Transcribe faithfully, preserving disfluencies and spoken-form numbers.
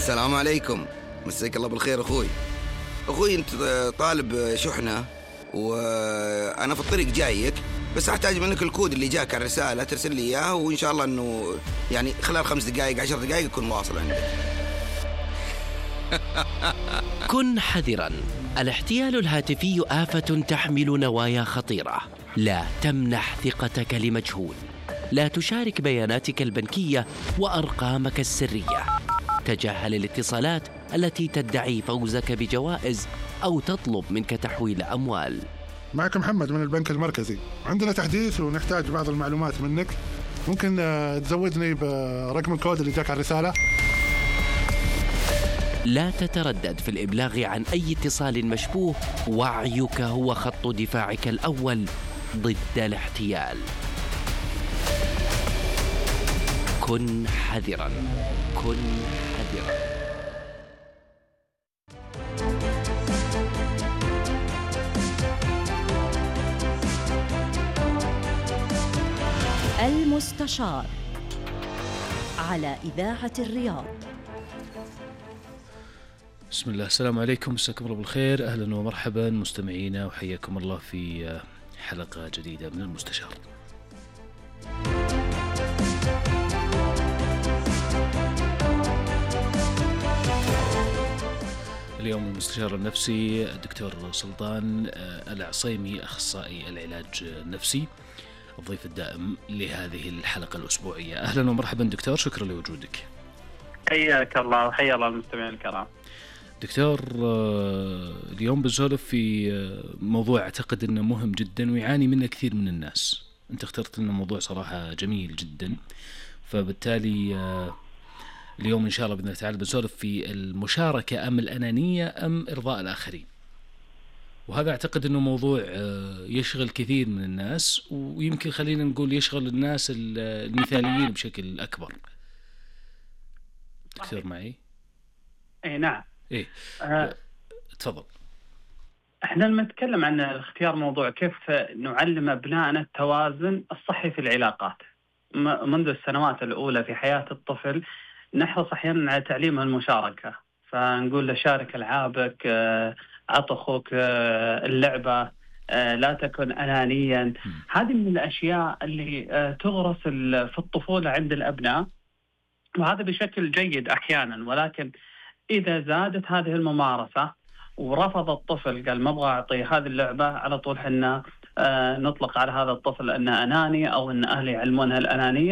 السلام عليكم، مساك الله بالخير أخوي. أخوي أنت طالب شحنة وأنا في الطريق جايك، بس أحتاج منك الكود اللي جاك على الرسالة ترسل لي إياه، وإن شاء الله أنه يعني خلال خمس دقائق عشر دقائق يكون واصل عندك. كن حذراً، الاحتيال الهاتفي آفة تحمل نوايا خطيرة. لا تمنح ثقتك لمجهول، لا تشارك بياناتك البنكية وأرقامك السرية. تجاهل الاتصالات التي تدعي فوزك بجوائز أو تطلب منك تحويل أموال. معك محمد من البنك المركزي، عندنا تحديث ونحتاج بعض المعلومات منك. ممكن تزودني برقم الكود اللي جاك على الرسالة؟ لا تتردد في الإبلاغ عن أي اتصال مشبوه، وعيك هو خط دفاعك الأول ضد الاحتيال. كن حذراً، كن حذراً. المستشار على إذاعة الرياض. بسم الله، السلام عليكم، مساكم الله بالخير، أهلا ومرحبا مستمعينا، وحياكم الله في حلقة جديدة من المستشار. اليوم المستشار النفسي الدكتور سلطان العصيمي، أخصائي العلاج النفسي، الضيف الدائم لهذه الحلقة الأسبوعية. أهلا ومرحبا دكتور، شكرا لوجودك. حياك الله وحيا الله المستمعين الكرام. دكتور، اليوم بنسولف في موضوع أعتقد أنه مهم جدا ويعاني منه كثير من الناس. أنت اخترت لنا موضوع صراحة جميل جدا، فبالتالي اليوم إن شاء الله بإذن الله تعالى بنسولف في المشاركة أم الأنانية أم إرضاء الآخرين. وهذا أعتقد أنه موضوع يشغل كثير من الناس، ويمكن خلينا نقول يشغل الناس المثاليين بشكل أكبر. دكتور معي؟ اي نعم. ايه أه تفضل. احنا لما نتكلم عن اختيار موضوع كيف نعلم ابنائنا التوازن الصحي في العلاقات منذ السنوات الاولى في حياة الطفل، نحرص احيانا على تعليمه المشاركة، فنقول له شارك العابك، اعط اخوك اللعبة، لا تكن انانيا. م. هذه من الاشياء اللي تغرس في الطفولة عند الابناء، وهذا بشكل جيد احيانا، ولكن إذا زادت هذه الممارسة ورفض الطفل قال ما أبغى أعطي هذه اللعبة، على طول حنا آه نطلق على هذا الطفل أنه أناني، أو أن أهله يعلمونها الأنانية.